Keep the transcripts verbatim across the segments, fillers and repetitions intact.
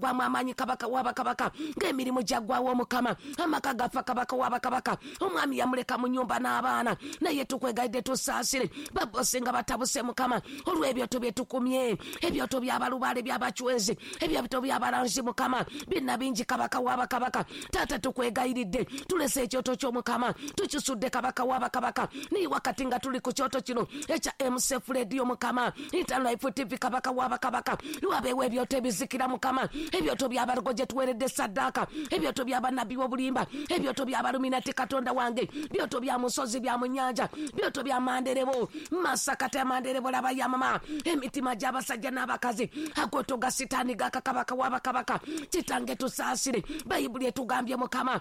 Gwamu amaanyi kabaka w'abakabaka, ng'emirimu gyaggwawo Mukama, amaka gafa kabaka w'abakabaka, omwami yamuleka mu nnyumba n'abaana, naye tukwegayidde tusaasire babosi nga batabuse Mukama olw'ebyoto bye tukumye, ebyoto by'abalubaale by'abacwezi, ebyoto by'abalanzi Mukama byonna bingi kabaka w'abakabaka. Taata tukwegayiridde tulese ekyoto ky'Omukama tukisudde kabaka w'abakabaka, naye wakati nga tuli ku kyoto kino ekya M C F Radio Mukama, Interlife T V kabaka w'abakabaka, wabeewo ebyoto ebizikira Mukama, ebyoto by'abalugo gye tuweeredde saddaaka, ebyoto by'abannabbi b'obulimba, ebyoto by'abaluminati Katonda wange, byoto bya musozi bya mu nnyanja, byoto bya manderebo masakata ya manderebo laba ya mama, emitima gy'abasajja n'abakazi agoto ga sitaani gaka kabaka w'abakabaka. Kitange tusaasire, Bayibuli etugambye Mukama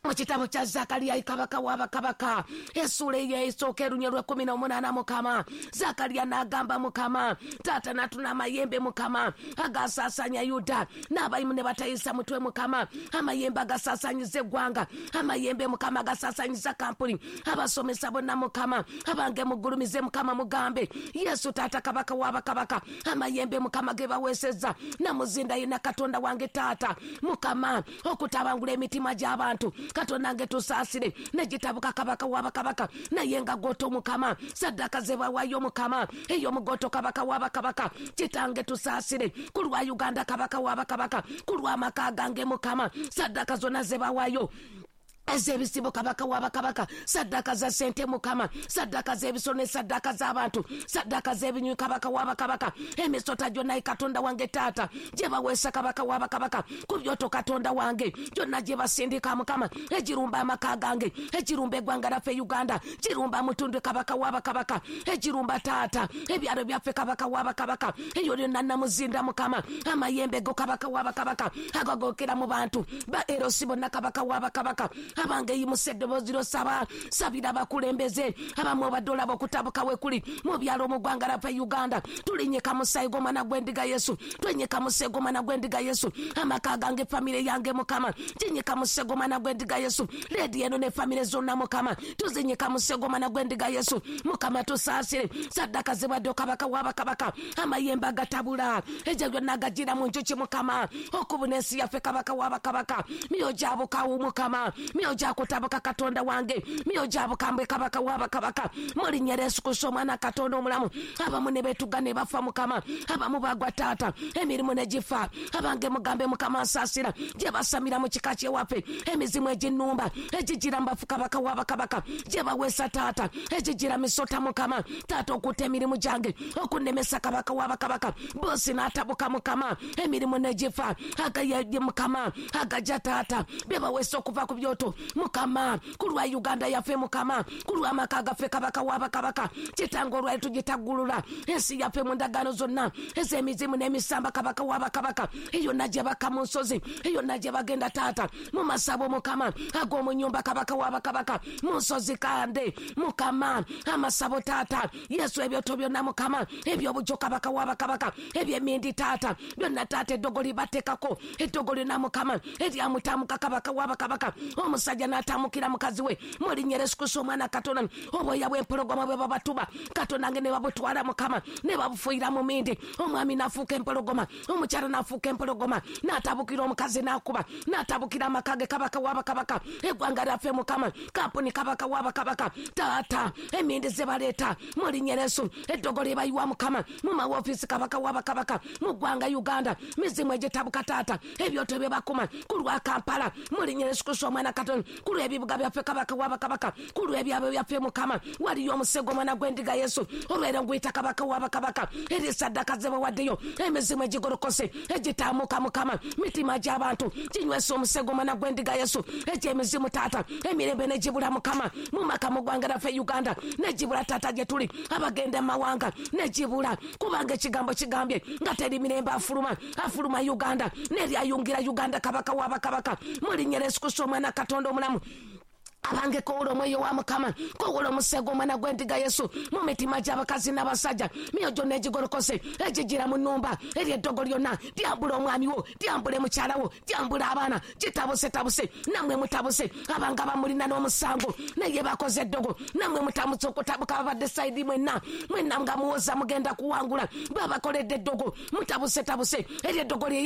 mu kitabo kya Zakariya kabaka w'abakabaka essuula ey'esooka erunye lw'ekkumi n'omunaana Mukama, Zakariya n'agamba Mukama, taata n'atuna amayembe Mukama agasaasaanya Yuda n'abayimu ne batayisa mutwe Mukama, amayembe agasaasaanyiza eggwanga, amayembe Mukama agasaasaanyiza kampuni, abasomesa bonna Mukama, abange mugulumize Mukama mugambe Yesu taata kabaka w'abakabaka, amayembe Mukama ge baweesezza namuzinda yenna Katonda wange taata Mukama okutabangula emitima gy'abantu. Katonda nge tusaasire negitabuka kabaka w'abakabaka, naye nga goto Mukama saddaaka ze bawaayo Mukama ey'omugoto kabaka w'abakabaka. Kitange tusaasire ku lwa Uganda kabaka w'abakabaka, ku lw'amaka gange Mukama saddaaka zonna ze bawaayo ez'ebisibo kabaka w'abakabaka, saddaaka za ssente Mukama, saddaaka z'ebisolo ne saddaaka z'abantu, saddaaka z'ebinywi kabaka w'abakabaka, emisota gyonna Katonda wange taata gye baweesa kabaka w'abakabaka ku byoto Katonda wange gyonna gye basindika Mukama, egirumba amaka gange, egirumba eggwanga lyaffe Uganda, girumba Mutundwe kabaka w'abakabaka, egirumba taata ebyalo byaffe kabaka w'abakabaka, eyo lyonna namuzinda Mukama, amayembe go kabaka w'abakabaka agagokera mu bantu ba erosi bonna kabaka w'abakabaka. Abange yimusa eddoboozi ly'osaba, sabira abakulembeze abamu obadde olaba okutabuka we kuli mu byalo mu ggwanga lyaffe Uganda. Tulinyika musaayi gw'omwana gw'endiga Yesu, twenyika musaayi gw'omwana gw'endiga Yesu, amaka gange famire yange Mukama ginyika musaayi gw'omwana gw'endiga Yesu, leedi eno ne famire zonna Mukama tuzinyika musaayi gw'omwana gw'endiga Yesu. Mukama tusaasire saddaaka zibadde kabaka w'abakabaka, amayembe agatabula egyo gyonna agagira mu njuki Mukama okubuna ensi yaffe kabaka w'abakabaka, myoyo gyabukawu Mukama, myoyo gyakutabuka Katonda wange, myoyo gyabukambwe kabaka w'abakabaka, mu linnya lya Yesu Kristo omwana Katonda omulamu. Abamu ne beetuga ne bafa Mukama, abamu bagwa taata emirimu ne gifa. Abange mugambe Mukama nsaasira gye basamira mu kika ky'ewaffe, emizimu eginnumba egigira mu bafu kabaka w'abakabaka gye baweesa taata egigira misota Mukama taata okutta emirimu gyange okunnemesa kabaka w'abakabaka, bosi n'atabuka Mukama emirimu ne gifa, agaye Mukama agajja taata bye baweesa okuva ku byoto Mukama ku lwa Uganda yaffe Mukama, ku lw'amaka gaffe kabaka w'abakabaka. Kitange olwali tugitaggulula ensi yaffe mu ndagaano zonna ez'emizimu n'emisamba kabaka w'abakabaka, eyonna gye bakka mu nsozi, eyonna gye bagenda taata mu masabo Mukama ag'omu nnyumba kabaka w'abakabaka, mu nsozi kande Mukama amasabo taata Yesu ebyoto byonna Mukama eby'obujjo kabaka w'abakabaka, eby'emindi taata byonna taata eddogo libateekako eddogo lyonna Mukama eryamutamuka kabaka w'abakabaka, omusajja n'atamukira mukazi we mu linnya lya Yesu Kristo omwana Katonda, obwoya bw'empologoma bwe babatuba Katonda nge ne babutwala Mukama ne babufuuyira mu mindi, omwami n'afuuka empologoma, omukyala n'afuuka empologoma, n'atabukira omukazi n'akuba, n'atabukira amaka ge kabaka w'abakabaka, eggwanga lyaffe Mukama kampuni kabaka w'abakabaka taata emindi ze baleeta mu linnya lya Yesu, eddogo lye bayiwa Mukama mu mawoofiisi kabaka w'abakabaka mu ggwanga Uganda, mizimu egitabuka taata ebyoto bye bakuma ku lwa Kampala mu linnya lya Yesu Kristo omwana Katonda, ku lw'ebibuga byaffe kabaka w'abakabaka, ku lw'ebyabo byaffe Mukama waliyo omusego omwana gw'endiga Yesu olwera nguyita kabaka w'abakabaka, eri saddaaka ze bawaddeyo emizimu egigolokose egitaamuka Mukama mitima gy'abantu ginywesa omusego omwana gw'endiga Yesu, egy'emizimu taata emirembe negibula Mukama mu maka mu ggwanga lyaffe Uganda negibula taata gye tuli abagenda mu mawanga negibula, kubanga ekigambo kigambye nga teri mirembe afuluma afuluma Uganda neryayungira Uganda kabaka w'abakabaka mu linnya lya Yesu Kristo omwana Katonda omulamu. Abange kowula omwoyo wa Mukama, kowula omusego omwana gw'endiga Yesu mu mitima gy'abakazi n'abasajja, myoyo gyonna egigolokose egigira mu nnumba eri eddogo lyonna lyambula omwami wo, lyambule mukyala wo, lyambula abaana, gitabusetabuse nammwe mutabuse. Abanga bamulina n'omusango naye bakoze eddogo, nammwe mutamutse okutabuka babadde sayidi mwenna mwenna nga muwoza mugenda kuwangula, babakoledde eddogo mutabusetabuse eri eddogo lye